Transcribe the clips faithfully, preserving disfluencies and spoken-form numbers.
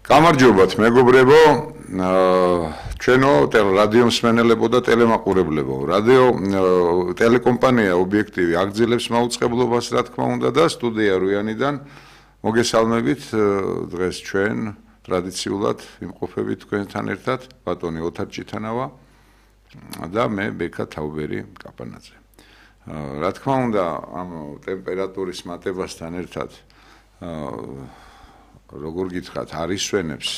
გამარჯობათ მეგობრებო, ჩვენო რადიო მსმენელებო და ტელემაყურებლებო. რადიო ტელეკომპანია ობიექტივი აგრძელებს მაუწყებლობას, რა თქმა უნდა, და სტუდია რუიანიდან მოგესალმებით. დღეს ჩვენ ტრადიციულად იმყოფებით თქვენთან ერთად, ბატონი ოთარ ჭიტანავა და მე ბექა თაუბერი კაპანაძე. რა თქმა უნდა, ამ ტემპერატურის მატებასთან ერთად როგორ გითხრათ, არისვენებს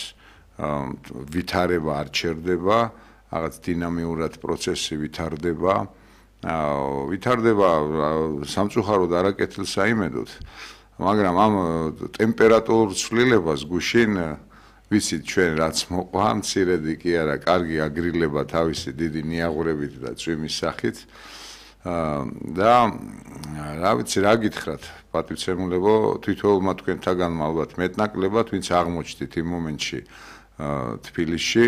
ვითარება არ ჩერდება, რაღაც დინამიურად პროცესი ვითარდება, ვითარდება სამწუხაროდ არაკეთილ საიმედოდ, მაგრამ ამ ტემპერატურულ ცვლილებას გუშინ ვიცით ჩვენ რაც მოყვა, მცირედი კი არა, კარგი აგრილება თავისი დიდი ნიაღურებით და წვიმის სახით და რა ვიცი რა გითხრათ, პატივცემულებო, თითოეულმა თქვენთაგანმა ალბათ მეტნაკლებად, ვინც აღმოჩნდით იმ მომენტში თბილისში,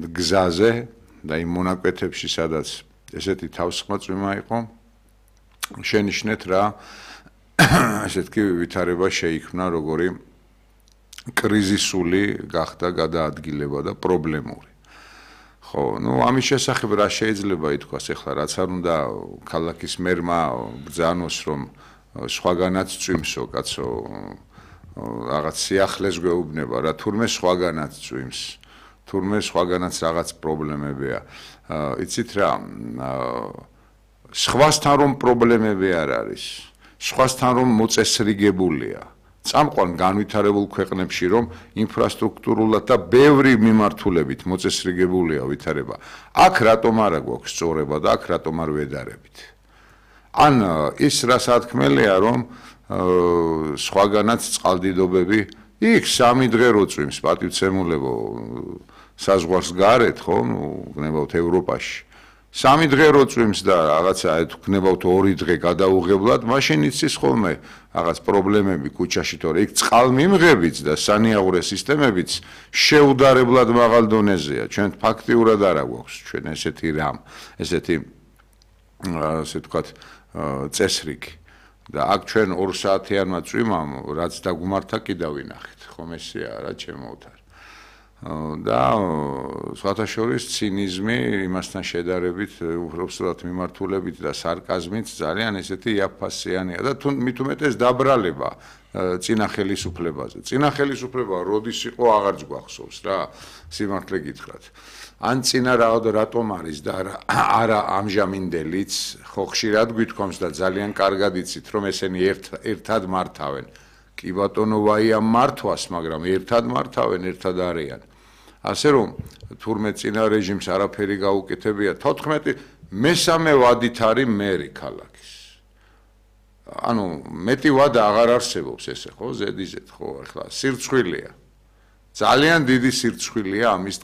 გზაზე და იმ მონაკვეთებში, სადაც ესეთი თავსხმა წვიმა იყო, შენიშნეთ რა ესეთი ვითარება შეიქმნა, როგორი კრიზისული გახდა გადაადგილება და პრობლემური. ხო, ну, ამის შესახებ რა შეიძლება ითქვას ახლა, რაც არ უნდა ქალაქის მერმა ბრძანოს, რომ სხვაგანაც წვიმსო, კაცო, რაღაც სიახლეს გვეუბნება რა, თურმე სხვაგანაც წვიმს, თურმე სხვაგანაც რაღაც პრობლემებია. იცით რა, სხვასთან რომ პრობლემები არ არის, სხვასთან რომ მოწესრიგებულია. წამყვან განვითარებულ ქვეყნებში რომ ინფრასტრუქტურულად და ბევრი მიმართულებით მოწესრიგებულია ვითარება. აქ რატომ არა გვაქვს სწორება და აქ რატომ არ ვედარებით? ან ის რა სათქმელია, რომ სხვაგანაც წყალდიდობები იქ სამი დღე რო წვიმს, პატივცემულებო, საზღვარს გარეთ, ხო, ნუ გნებავთ ევროპაში. სამი დღე რო წვიმს და რაღაცა გნებავთ ორი დღე გადაუღებლად, მაშინ იცის ხოლმე რაღაც პრობლემები ქუჩაში, თორე იქ წყალმიმღებიც და სანიაღურე სისტემებიც შეუდარებლად მაღალ დონეზეა. ჩვენ ფაქტიურად არა გვაქვს ჩვენ ესეთი რამ, ესეთი ასე ვთქვათ წესრიგი. და აქ ჩვენ ორ საათიანმა წვიმამ, რაც დაგმართა კი დავინახეთ, ხომ ესეა რა ჩემო ოთარ. და სხვათა შორის ცინიზმი იმასთან შედარებით, უბრალოდ მიმართულებით და სარკაზმით ძალიან ესეთი იაფფასიანია და თუ მით უმეტეს დაბრალება წინა ხელისუფლებაზე. წინა ხელისუფლება როდის იყო აღარც გვახსოვს რა, სიმართლე გითხრათ. ან წინა რატომ არის და არა ამჟამინდელიც, ხო ხშირად გვითქვამს და ძალიან კარგად იცით, რომ ესენი ერთად მართავენ. კი ბატონო, ვაია მართვას, მაგრამ ერთად მართავენ, ერთად არიან. ასე რომ, თურმე წინა რეჟიმს არაფერი გაუკეთებია, თოთხმეტი მესამე ვადით არის მერი ქალაქის. ანუ მეტი ვადა აღარ არსებობს ესე, ხო, ზედიზედ, ხო, ახლა სირცხვილია. ძალიან დიდი სირცხვილია ამის